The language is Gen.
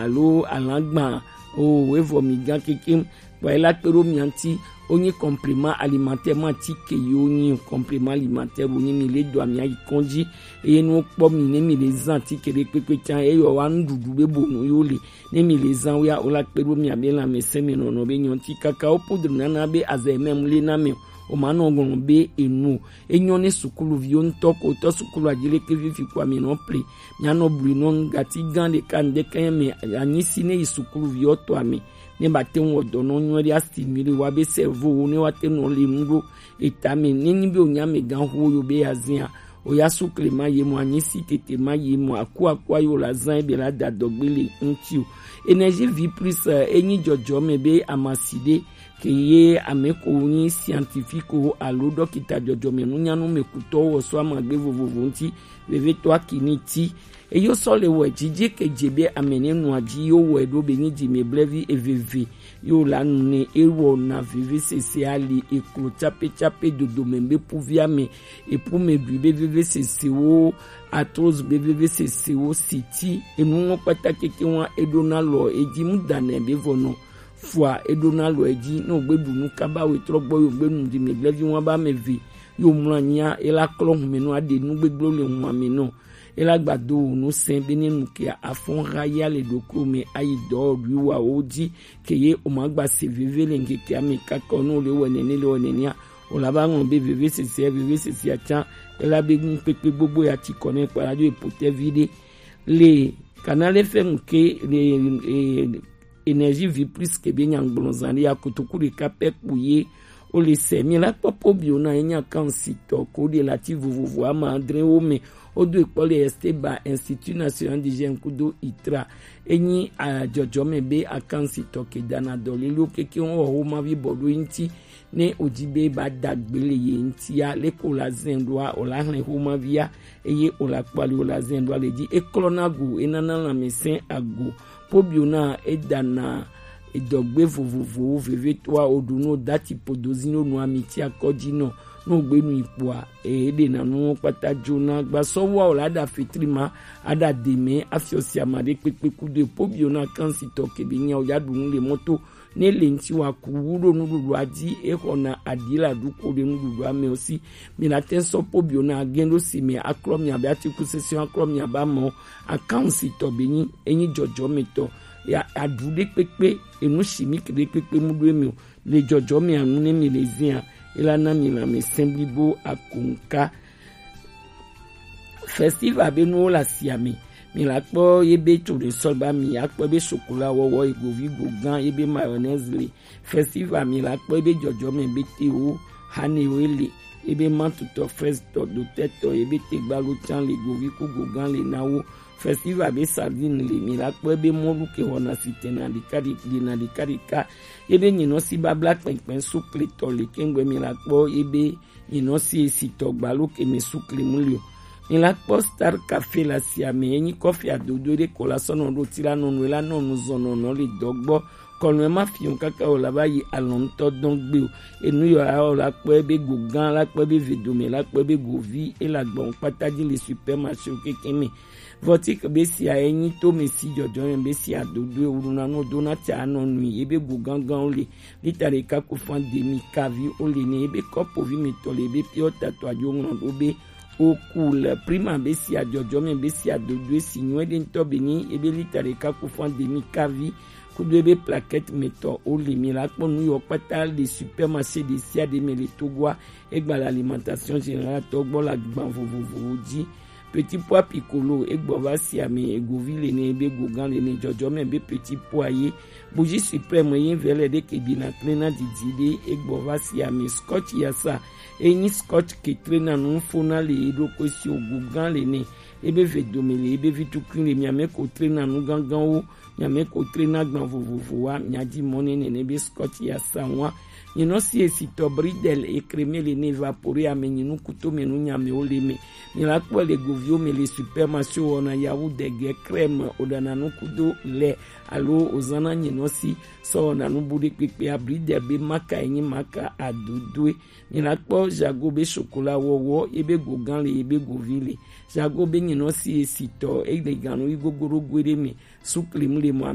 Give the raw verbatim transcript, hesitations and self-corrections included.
alo alagba o, evɔ mi gan kekem. Bɔ ela kpe ɖo mia ŋuti, wonyi complément alimentaire ma ti ke yi wonyi complément alimentaire wonyi mi le do amia yi kɔn ji. Eye ne wokpɔ mi ne mi le zan ti ke ɖe kpekpe can eyɔ wa nuɖuɖu be bonu yo le ne mi le zan wia o la kpe ɖo mia be lanmɛsɛn mi nɔnɔ be nyɔ ŋuti kaka wo poudre nana be azɛ mɛm le na mɛ o ma nɔ ŋlɔ be enu o. Enyɔ ne sukuluviwo ŋutɔ ko tɔ sukulu adzi leke fifi ko ami nɔ ple. Mianɔ blu nɔ nu gati gã ɖeka ŋdeke me anyi si ne yi sukuluviwo tɔ ame ne ba te ŋu wɔ dɔ nɔ nyuie ɖe astimule wa be cerveau wo ne wa te nɔ le nu ɖo eta me ne nyi be o nya me gã hu yo be ya zia o ya sukle ma ye mo anyi si tete ma ye mo aku aku ayo la zan ebe la da dɔgbe le ŋuti o. Énergie vie plus enyi jɔjɔ me be amasi ɖe ke ye ame ko nyi scientifique o alo dɔkita jɔjɔmɛnunyanu me kutɔwo wɔ so amagbe vovovo ŋuti vevetɔ akini ti. Eyo sɔ le wɔ dzidzi ke dze be ame ne nua dzi yo wɔ ɖo be nyi dzi me blevi eveve yo la nu ne ewɔ na veve sese ali eklo tsape tsape dodo me be puvi ame epu me dui be veve sese wo arthrose be veve sese wo siti enu ŋɔ kpata keke wa eɖo na lɔ edzi mu da nɛ be vɔ nɔ fua eɖo na lɔ edzi ne wogbe ɖu nu kaba wo etrɔ gbɔ yo gbe nu di mi blevi wa ba me ve yo mlɔ anyia ela klɔ hume nɔ aɖe nu gbegblɔ le hua me nɔ ela gba do wo nu sɛn be ne nu ke afɔn ha ya le ɖoklo me ayi dɔ ɖui wa wo dzi ke ye o ma gba se veve le ŋkeke ame kakɔ ne wo le wɔ nene le wɔ nenea o la ba ŋlɔ be veve sese veve sese atsa ela be nu kpekpe gbogbo ya ti kɔ ne kpa la do epo tɛ vi ɖe le kana le fɛ ŋke le e, énergie vie plus ke be nyagblɔ zan ɖe ya kotoku ɖeka pɛ kpo ye o le sɛ mi la kpɔ pobio na enya kan si tɔ ko ɖe la ti vovovo ama adre wo me o do ekpɔ le Esteba Institut National d'Hygiène kudo itra enyi adzɔdzɔ me be akan si tɔ ke dana dɔ lilo keke wo ho ma vi bɔ ɖo ŋti ne o dzi be ba da gbe le ye ŋtia leke o la zɛn ɖoa o la hlɛn xomavia eye o la kpɔ ali o la zɛn ɖoa le dzi eklɔna go enana lãmesẽ ago pobio na edana edɔgbe vovovowo vevetoa o ɖu no dati podozi no nu amiti akɔdzi nɔ no gbe nu ikpoa e ɖe na nu kpata dzona gbasɔ wa o la da fitri ma aɖa deme afiɔ si ama ɖe kpekpe kudo e pobio na kansi tɔ kebe nya o ya ɖu nu le mɔto ne le ŋti wa ku wu ɖo nuɖuɖua dzi exɔna aɖi la ɖu ko ɖe nuɖuɖua me o si mi la te sɔ pobio na agɛn ɖo si me aklɔ mi abe atikusese aklɔ mi abe amɔ akansi tɔ be nyi enyi jɔjɔ me tɔ ya aɖu ɖe kpekpe enu si mi ke ɖe kpekpe mu ɖo eme o le jɔjɔ me anu ne mi le zia ela na mi la me sɛn blibo akonka Festival be nuwo le asia me. Mi la kpɔ ye be tso ɖe sɔ ba mi akpɔ be chocolat wɔwɔ egovi go gã ye be mayonnaise le. Festival mi la kpɔ ye be jɔjɔme be tewo hanewo le. Ye be mantutɔ fraise tɔ dotɛtɔ ye be tegbalo can le govi ku go gã le na wo. Festival be sardine le mi la kpɔ ye be mɔlu ke wɔna si tɛna ɖeka ɖeka ɖeka ɖeka. Ye be nyinɔ si babla kpɛnkpɛn sukle tɔ le kɛngbɛ mi la kpɔ ye be Nyinɔ si esi tɔ gbalo ke me su klemu le o. Mi la kpɔ Star Cafe le asia me enyi kɔfi adodo ɖe ko la sɔ nɔ ɖo ti la nɔnu la nɔnu zɔn nɔnɔ le dɔ gbɔ. Kɔnu ma fi o kaka o la va yi alɔntɔ dɔn gbe o. Enu yɔ ya o la kpɔ be go gan la kpɔ be vedome la kpɔ be govi e la gbɔn kpata dzi le supermarché o keke me. Vɔtik be sia enyi to me si jɔjɔ me be sia dodo e wulu na no do na tsa nɔ nui ebe go gangan o le lita ɖeka ku fan demi kavi o le ne ebe kɔpo vi me tɔ le ebe piɔ tato adzo ŋlɔ ɖo be o ku le prima be sia jɔjɔ me be sia dodo e si nyuɛ ɖe ŋutɔ be ni ebe lita ɖeka ku fan demi kavi kudo ebe plaquette me tɔ o le mi la kpɔ nu yɔ kpata le supermarché ɖe sia ɖe me le Togoa egba le alimentation générale tɔ gbɔ le agban vovovowo dzi. Petit pois piccolo egbɔ va si ame egovi le ne be gogan le ne jɔjɔ me be petit pois ye. Bougie suprême ye vɛ le ɖe ke dina kple na didi ɖe egbɔ va si ame scotch yasa enyi scotch ke tre na nu fo na le ye ɖo ko si o gogan le ne ebe ve dome le ebe vi tukui le mi ame ko tre na nu gangan wo mi ame ko tre na gban vovovo wa mi adi mɔ ne nene be scotch yasa wa Nyinɔ si esitɔ bridel ekreme le ne evapore ame nyinu kuto me nu nyame wo le me. Nyina kpɔ le goviwo me le supermarché wɔna yawu dege crème odana nu kudo le alo ozana nyinɔ si sɔ wɔna nu bu ɖe kpekpe abridel be maka enyi maka adodoe. Nyina kpɔ jago be chocolat wɔwɔ ebe gogan le ebe govi le. Jago be nyinɔ si esitɔ ele ganu yi gogoro goe ɖe me. Suklim le mɔ